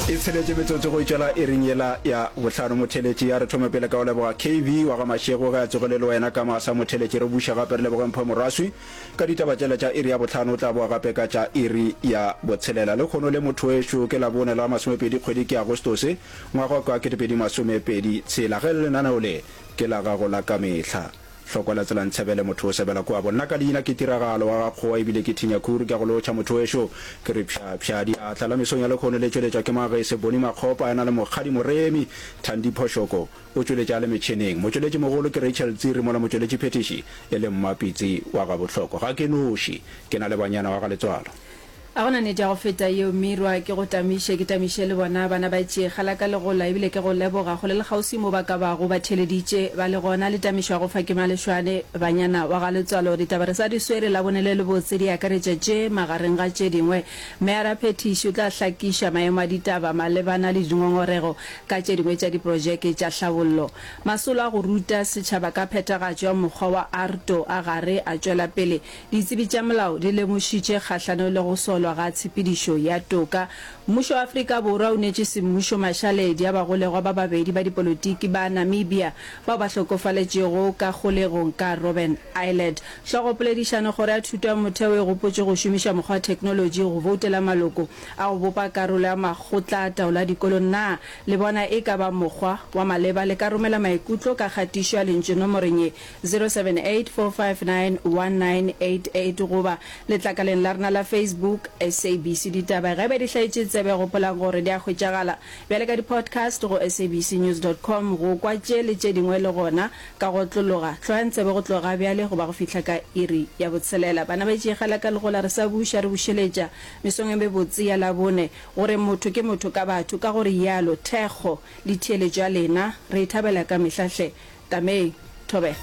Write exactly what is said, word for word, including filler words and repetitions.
E tsheletše metsotso go itšwela iring yela ya bohlano. Motheletši a re thome pele ka go leboga K V wa ga Mašego ge a tsogile le wena ka masa. Motheletši re buša gape re leboge Mpho Moraswi ka ditaba tšela tša iri ya bohlano. O tla boa gape ka tša iri ya botshelela. Lehono le motho wešo ke Labone la masomepedi kgwedi ke Agostose ngwaga wa ketepedi masomepedi tshela. Ge lenaneo le ke la gago la ka mehla, Hlokwa la tsela ntshebele motho o sebela kua bo. Nna ka leina ke Tiragalo wa ga Kgowa ebile ke thinya khuru ke a go lotšha motho wešo. Ke re pša pša diatla la mesong ya lekhono le tšweletšwa ke Magese Boni Makgopa a na le Mokgadi Moremi Thandi Phoshoko o tšweletša a le metšheneng. Motšweletši mogolo ke Rachel Tsiri mola motšweletši phethiši e le Mmapitsi wa ga Bohloko. Ga ke noši ke na le banyana wa ga Letswalo. A go na nnete ya go feta yeo, Mirwa? Ke go tamiše, ke tamiše le bona bana ba tšee kgala ka legola, ebile ke go leboga kgole le kgauswi mo ba ka bago ba theeleditše ba le gona. Le tamišo ya go fa ke Malešwane, banyana wa ga Letswalo. Ditaba re sa di swere Labone le lebotse di akaretša tše magareng ga tše dingwe. Meyara Phethiši o tla hlakiša maemo a ditaba malebana le dingongorego ka tše dingwe tša diprojeke tša hlabollo. Masolo a go ruta setšhaba ka phethagatšo ya mokgwa wa AARTO a gare a tšwela pele. Ditsebi tša molao di lemošitše kgahlano le go solwa ga tshepedišo ya toka. Mmušo wa Afrika Borwa o neetše semmušo mašaledi a bagolegwa ba babedi ba dipolotiki ba Namibia bao ba hlokofaletšego ka kgolegong ka Robben Island. Hlogopoledišano Kgoro ya Thuto ya Motheo e gopotše go šomiša mokgwa wa theknolotši go boutela maloko a go bopa karolo ya makgotla a taolo a dikolo. Na le bona e ka ba mokgwa wa maleba? Le ka romela maikutlo ka kgatišo ya lentšu nomorong ye zero seven eight four five nine one nine eight eight goba letlakaleng la rena la Facebook S A B C Ditaba. Ge eba di hlaetše tsebe, gopolang gore di a hwetšagala bjale ka di-podcast go sabcnews dot com go kwa tše le tše dingwe le gona ka go otlologa. Hloyang tsebe go tloga ga bjale go ba go fihla ka iri ya botshelela. Bana ba itšegela ka legola re sa buša re bušeletša mesong e mebotse ya Labone gore motho ke motho ka batho. Ka go rialo thekgo le theeletšo ya lena re e thabela ka mehla hle. Tameng. Thobela.